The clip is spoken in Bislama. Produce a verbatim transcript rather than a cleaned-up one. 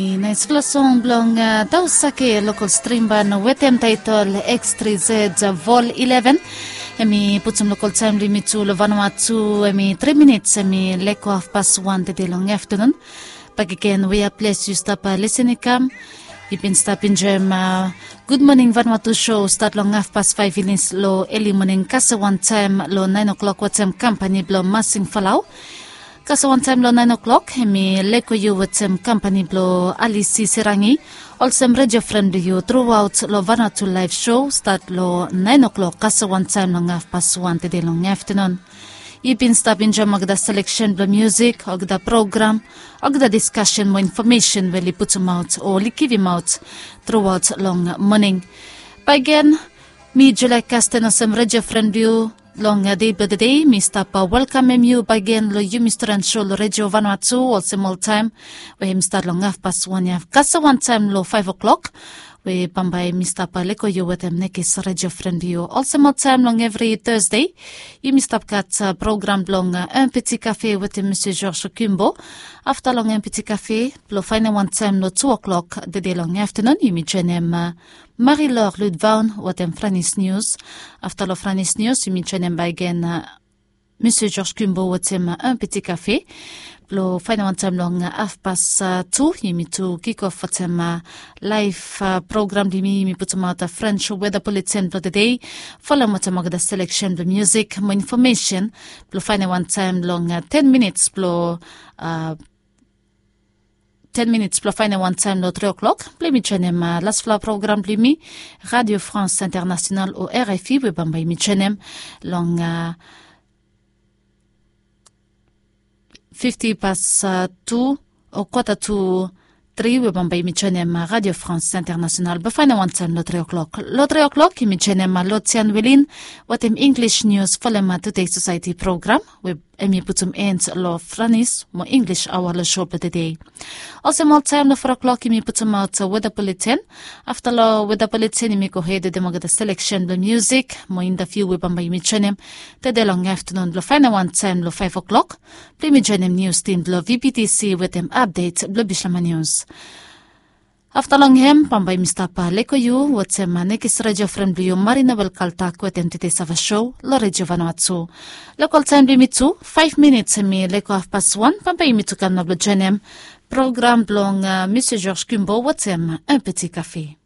Naispela song bilong Dausake, lokol strimban wetem taitol X tri Z Vol ileven. Em i putum lokol taim bilong yumi tu long Vanuatu, em i tri minits em i leko hafpas wan tede long aftanun. Bakegen, wea ples yu stap lisin i kam, yu bin stap enjoim Gud Moning Vanuatu show stat long hafpas faiv minits long eli moning, kasem wantaim long nain o'clock wetem kampani bilong Masing Falau. Kasem wantaim long nain o'clock em i leko yu wetem kampani bilong Alisi Serangi, olsem redio fren bilong yu truaut long Vanuatu live show stat long nain o'clock kasem wantaim long hafpas wan tede long aftanun. Yu bin stap enjoim olgeta selekshen bilong musik, olgeta program, olgeta diskasen mo infomesen we oli putumaot o oli givimaot truaut long moning. Bagen, mi Julia Kasten olsem redio fren bilong yu long dei bilong tede mi stap welkamem yu bagen long yumi storan show long redio Vanuatu olsem oltaim, we em i stat long hafpas wan ya kasem wantaim long faiv o'clock, we bambae mi stap leko yu wetem nekis redio fren bilong yu. Olsem oltaim long evri Thursday yumi stap gat program bilong Empty Cafe wetem Mr George Kimbo. Afta long Empty Cafe bilong fainem wantaim long tu o'clock tede long aftanun yumi joinim Marie Laure Ludvaun wetem Franis News. Afta long Franis News yumi joinim bagen Mr George Kimbo wetem Empty Cafe. Bilong fainem wantaim long hafpas tu yumi tu kikof wetem laif program bilong yumi yumi putumaot French weda bulletin bilong tede, folem wetem olgeta selekshen bilong musik mo infomesen. Bilong fainem wantaim long ten minits bilong ten minits bilong fainem wantaim long tri o'clock bilong yumi joinim lasfala program bilong yumi, Radio France International o R F I, we bambae yumi joinim long fifti pas tu o kwata tu tri, we bambae yumi joinim Radio France International bilong fainem wantaim long tri o'clock. Long tri o'clock yumi joinim Lotian Welin wetem English News, folem Today Society program, we em i putum en long Franis mo English aoa long show bilong tede. Olsem oltaim long four o'clock yumi putumaot weda bulletin. Afta long weda bulletin yumi gohed wetem olgeta selekshen bilong musik mo interview we bambae yumi joinim tede long aftanun bilong fainem wantaim long faiv o'clock bilong yumi joinim nius tim bilong V B T C wetem update bilong Bislama News. Afta long hem bambae yumi stap leko yu wetem nekis redio fren bilong yu Marina Welkaltak wetem Tete Sava show long redio Vanuatu. Lokol taim bilong yumi tu, faiv minits em i leko hafpas wan, bambae yumi tu kam na bilong joinim program bilong Mr George Kimbo wetem Empty Cafe.